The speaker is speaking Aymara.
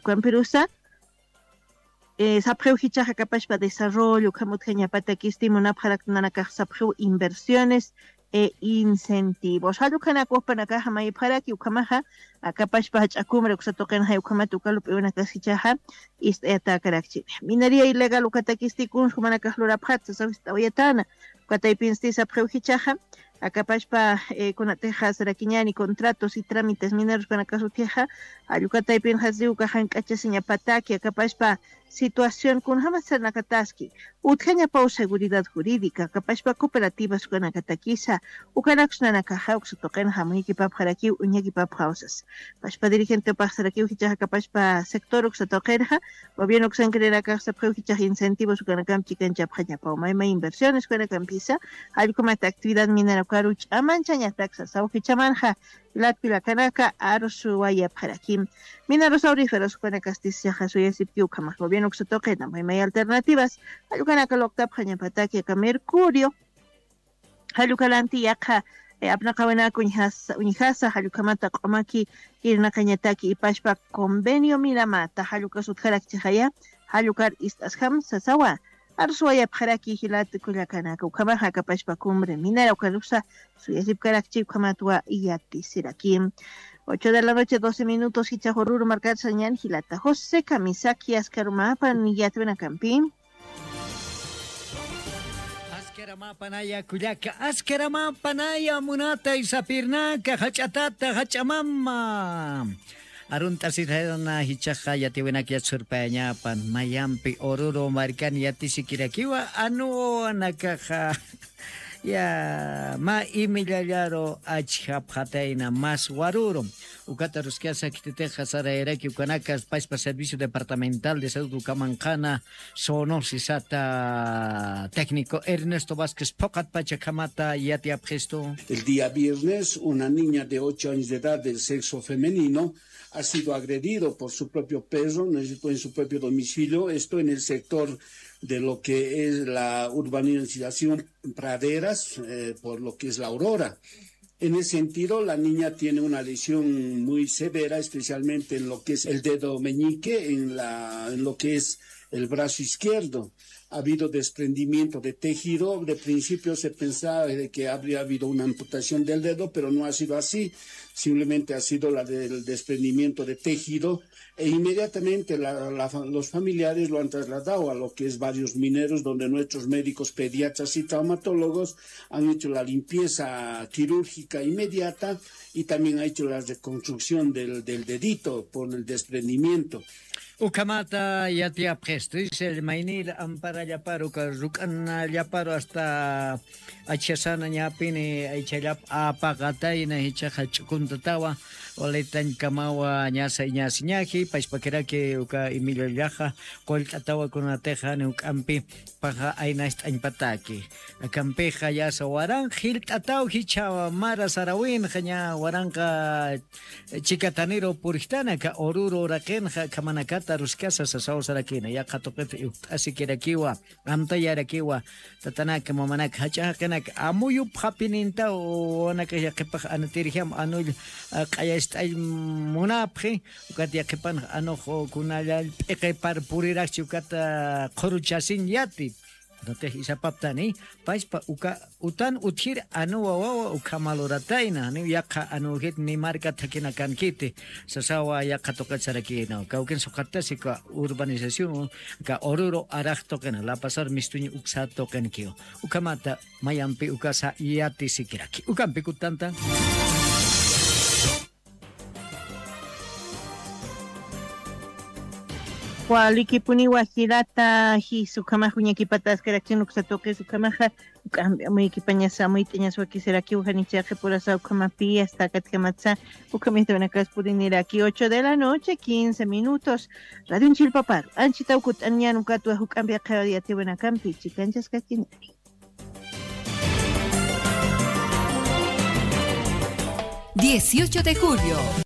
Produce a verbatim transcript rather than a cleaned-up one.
Ukampirusa sapxiw jichaxa akapashpa desarrollo ukham utjañapatakisti munapxaraktanakax sapxiw inversiones e incentivos jallukhanakwapanakaxa mayipxaraki ukhamaxa akapashpa jach'akumra uksatuqinxay ukhamat ukalup'iwanakas jichaxa ist'ayatakarakchini. Mineria ilegal ukhatakisti kunskumanakax lurapxatsa sawist'awayatana ukataypinsti sapxiw jichaxa akapashpa kunatixa sarakiñani contratos y trámites mineros kanakasutixa allukataypinxasi uka jank'achasiñapataki akapashpa situación kunjamat saranakataski utjañapaw seguridad jurídica akapashpa cooperativas ukanakatakisa ukanaksnanakaxa uksatuqinxa muñakipapxarakiw uñakipapxawsas pashpa dirigentepaxsarakiw jichaxa akapashpa sector uksatuqinxa gobierno uksankirinakaxsapxiw jichaxa incentivos ukanakamp chikanchapxañapaw mayma inversiones ukanakampisa allkumat actividad minera ukaru ch'amanchañataksa sawjichamanxa latpilakanaka arsuwayapxarakim. Minarusaw riferos ukanakastischaxa suyasipki ukhamax gobierno uksatuqina maymay alternativas jallukanaka luqtapxañapataki aka mercurio jallukalanti yaqha apnaqawinaka uñjasa uñjasa jallukhamata q'umaki irnaqañataki ipashpa convenio miramata jallukas utjarakchixaya jallukar ist'asjam sasawa arsuwayapxaraki jilata kullakanaka ukhamaxa akapashpa cumbre minera ukarusa suyasipkarakchi ukhamatwa yatisiraki. Ocho de la noche doce minutos jichhax ururu markar sañan jilata jose kamisaki askarumapan yatwinakampi. Askaramapanaya kullaka askaramapanaya munatay sapirnaka jach'atata jach'amama arunt'asirana jichaxa yatiwinak yatsurpayañapan mayampi ururu markan yatisikirakiwa anuwanakaxa ya mä imillallaru achjapxatayna mas waruru ukata ruskasa khititixa sarayaraki ukanakas pashpa servicio departamental de salud ukamanqana sonosisata técnico ernesto vásquez phuqatpacha khamata yatiyapxistu. El día viernes una niña de ocho años de edad del sexo femenino ha sido agredido por su propio perro, no es en su propio domicilio, esto en el sector de lo que es la urbanización Praderas, eh, por lo que es la Aurora. En ese sentido, la niña tiene una lesión muy severa, especialmente en lo que es el dedo meñique, en la, en lo que es el brazo izquierdo. Ha habido desprendimiento de tejido. De principio se pensaba de que habría habido una amputación del dedo, pero no ha sido así. Simplemente ha sido la del desprendimiento de tejido. E inmediatamente la- la fa- los familiares lo han trasladado a lo que es Barrios Mineros, donde nuestros médicos pediatras y traumatólogos han hecho la limpieza quirúrgica inmediata y también ha hecho la reconstrucción del, del dedito por el desprendimiento. Ukhamata yatiyapxistu isel maynir amparallaparu ka ruk'anallaparu hasta achasana ñapini aychallap apaqatayna jichaxa ch'ukuntatawa walitañkamawa ñasa iñasiñaji pachpakiraki uka imillallaxa qullt'atawa kunatixa jani juk'ampi paxa aynacht'añpataki. Akampixa yasa waranqa jillt'ataw jichha mara sarawinxa ña waranqa chikataniru purjtana aka ururu uraqinxa akhamanakata ruskasa sasaw sarakina yaqha tuqita iwt'asikirakiwa amtayarakiwa tatanaka mamanaka jach'a jaqinaka amuyupxapinintaw wawanakax yaqhipax anatirjam anull q'ayacht'all munapxi ukat yaqhipanx anux kunallall p'iqipar purirakchi ukata qhuruchasin yati natix isapaptani pachpa uka utan utjir anuwa wawa ukhama luratayna niw yaqha anuwjit ni marka thakhinakankiti sasawa yaqha tuqit sarakïnaw kawkin suqattasi uka urbanización uka ururu arax tuqina lapasar mistuñ uksa tuqinkiw ukhamata mayampi ukasa yatisikiraki ukampi kutanta. Walikipuniwa jilata jis ukhamax uñakipataskarakchin uksa tuqis ukhamaxa uk'ampi amuykipañasa amuyt'añas wakisirakiw janicha qhipurasa ukhamapi asta akatjamatsa ukhamita unakas puriniraki ocho de la noche quince minutos. Radion chilpaparu anchitaw kut'anñan ukatwa juk'ampi aqhaw yatiwinakampi chikanchaskachiniri. Dieciocho de julio,